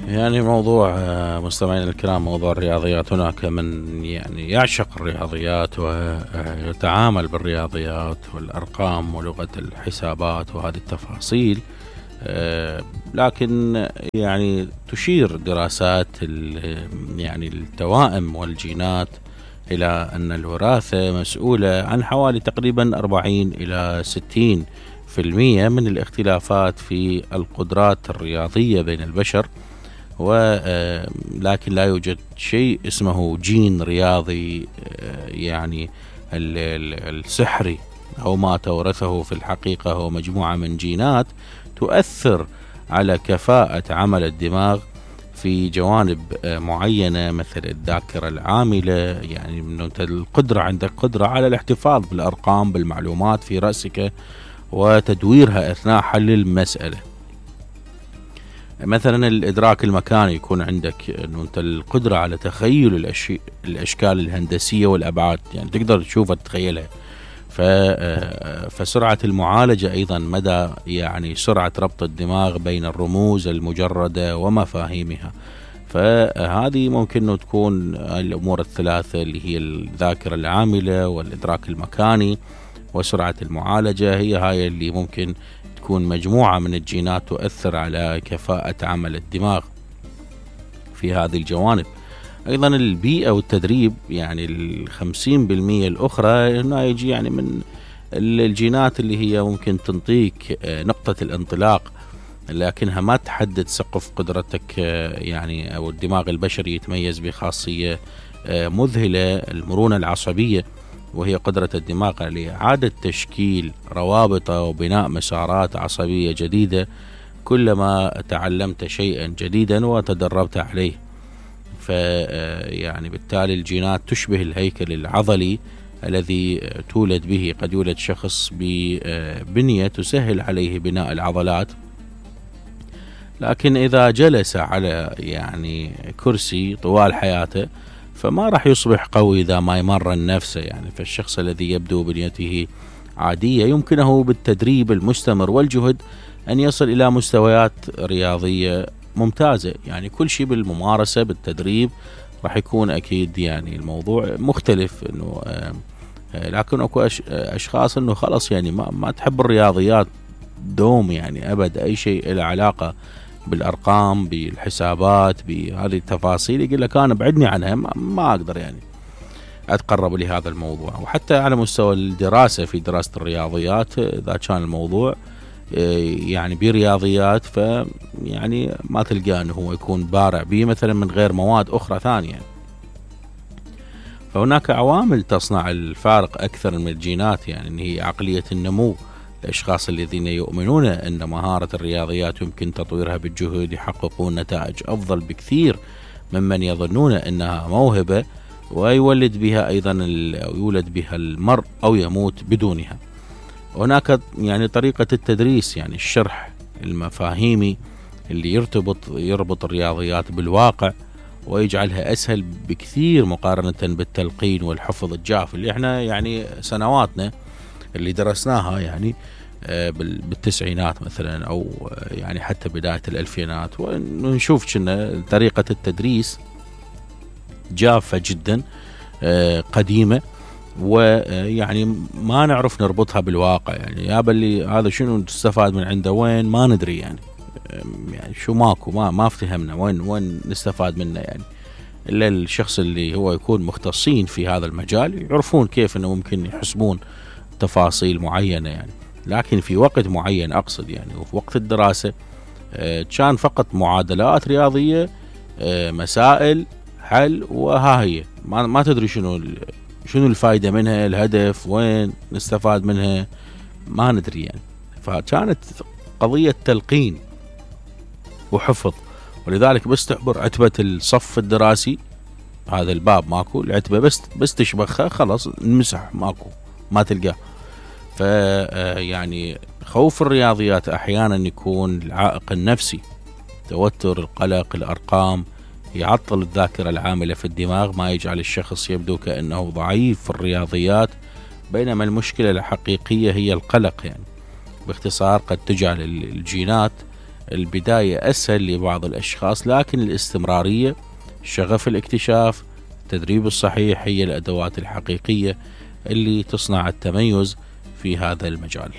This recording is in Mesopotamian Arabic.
يعني موضوع مستمعينا الكرام، موضوع الرياضيات، هناك من يعني يعشق الرياضيات ويتعامل بالرياضيات والأرقام ولغة الحسابات وهذه التفاصيل، لكن يعني تشير دراسات يعني التوائم والجينات إلى أن الوراثة مسؤولة عن حوالي تقريبا 40 إلى 60% من الاختلافات في القدرات الرياضية بين البشر. ولكن لا يوجد شيء اسمه جين رياضي يعني السحري، أو ما تورثه في الحقيقة هو مجموعة من جينات تؤثر على كفاءة عمل الدماغ في جوانب معينة، مثل الذاكرة العاملة، يعني من أنت القدرة، عندك قدرة على الاحتفاظ بالأرقام بالمعلومات في رأسك وتدويرها أثناء حل المسألة. مثلا الإدراك المكاني، يكون عندك أنه أنت القدرة على تخيل الأشكال الهندسية والأبعاد، يعني تقدر تشوفها تتخيلها. فسرعة المعالجة أيضا، مدى يعني سرعة ربط الدماغ بين الرموز المجردة ومفاهيمها. فهذه ممكن أن تكون الأمور الثلاثة اللي هي الذاكرة العاملة والإدراك المكاني وسرعة المعالجة، هي هاي اللي ممكن تكون مجموعة من الجينات تؤثر على كفاءة عمل الدماغ في هذه الجوانب. أيضا البيئة والتدريب، يعني 50% الأخرى هنا يجي يعني من الجينات اللي هي ممكن تنطيك نقطة الانطلاق، لكنها ما تحدد سقف قدرتك. يعني أو الدماغ البشري يتميز بخاصية مذهلة، المرونة العصبية، وهي قدرة الدماغ على إعادة تشكيل روابطه وبناء مسارات عصبية جديدة كلما تعلمت شيئا جديدا وتدربت عليه. يعني بالتالي الجينات تشبه الهيكل العضلي الذي تولد به. قد يولد شخص ببنية تسهل عليه بناء العضلات، لكن إذا جلس على يعني كرسي طوال حياته فما راح يصبح قوي إذا ما يمرن نفسه. يعني فالشخص الذي يبدو بنيته عادية يمكنه بالتدريب المستمر والجهد أن يصل إلى مستويات رياضية ممتازة. يعني كل شيء بالممارسة بالتدريب راح يكون أكيد يعني الموضوع مختلف. إنه لكن أكو أشخاص إنه خلص يعني ما تحب الرياضيات دوم، يعني أبد أي شيء له علاقة بالأرقام بالحسابات بهذه التفاصيل يقول لك أنا بعدني عنها، ما أقدر يعني أتقرب لهذا الموضوع. وحتى على مستوى الدراسة، في دراسة الرياضيات إذا كان الموضوع يعني برياضيات، فيعني ما تلقى أنه هو يكون بارع به مثلا من غير مواد أخرى ثانية. فهناك عوامل تصنع الفارق أكثر من الجينات، يعني أن هي عقلية النمو. الأشخاص الذين يؤمنون أن مهارة الرياضيات يمكن تطويرها بالجهد يحققون نتائج أفضل بكثير ممن يظنون أنها موهبة ويولد بها أيضا يولد بها المرء أو يموت بدونها. هناك يعني طريقة التدريس، يعني الشرح المفاهيمي اللي يربط الرياضيات بالواقع ويجعلها أسهل بكثير مقارنة بالتلقين والحفظ الجاف اللي احنا يعني سنواتنا اللي درسناها يعني بالتسعينات مثلا، أو يعني حتى بداية الألفينات، ونشوف كنا طريقة التدريس جافة جدا قديمة، ويعني ما نعرف نربطها بالواقع. يعني يا بلي هذا شنو نستفاد من عنده، وين ما ندري يعني شو ماكو ما افتهمنا وين نستفاد منه. يعني إلا الشخص اللي هو يكون مختصين في هذا المجال يعرفون كيف إنه ممكن يحسبون تفاصيل معينة يعني. لكن في وقت معين أقصد يعني، وفي وقت الدراسة كان فقط معادلات رياضية، مسائل حل، وها هي ما تدري شنو الفائدة منها، الهدف وين نستفاد منها ما ندري يعني. فكانت قضية تلقين وحفظ، ولذلك بس تعبر عتبة الصف الدراسي هذا الباب ماكو، العتبة بس تشبخها خلاص نمسح، ماكو ما تلقاه. يعني خوف الرياضيات أحيانا يكون العائق النفسي، توتر، القلق، الأرقام يعطل الذاكرة العاملة في الدماغ، ما يجعل الشخص يبدو كأنه ضعيف في الرياضيات، بينما المشكلة الحقيقية هي القلق. يعني باختصار قد تجعل الجينات البداية أسهل لبعض الأشخاص، لكن الاستمرارية، شغف الاكتشاف، التدريب الصحيح هي الأدوات الحقيقية اللي تصنع التميز في هذا المجال.